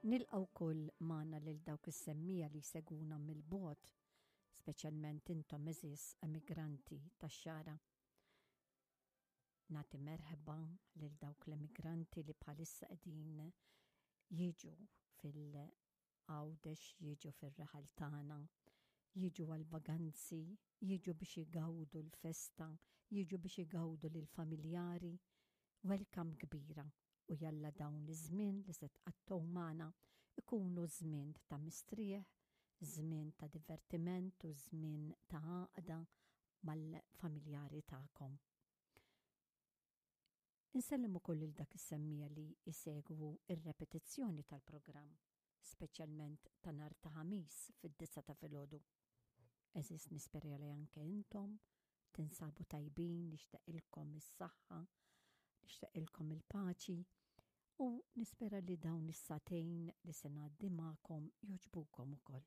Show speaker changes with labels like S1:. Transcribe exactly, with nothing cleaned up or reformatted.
S1: Nilqa' wkoll magħna lil dawk is-semmiegħa li jsegwuna mill-bogħod, speċjalment intom, għeżież emigranti tax-Xagħra. Nagħti merħba lil dawk l-emigranti li bħalissa qegħdin jiġu fil-Għawdex, jiġu fir-raħal tagħna, jiġu għal-vaganzi, jiġu biex igawdu l-festa, jiġu biex igawdu lill-familjari. Welcome kbira u jalla dawn iż-żmien li se tqattgħu magħna ikunu żmien ta' mistrieħ, żmien ta' divertiment u żmien ta' għaqda mal-familjari tagħkom. Insellem ukoll lil dak is-semmiegħa li jsegwu ir-repetizzjoni tal-programm, speċjalment ta' nhar ta' Ħamis fid-disgħa ta' filgħodu. Għeżież, nispera li anke intom tinsabu tajbin, nixtieqilkom is-saħħa, nixtieqilkom il-paċi u nispera li dawn is-sagħtejn li se ngħaddi magħkom jogħġbukom ukoll.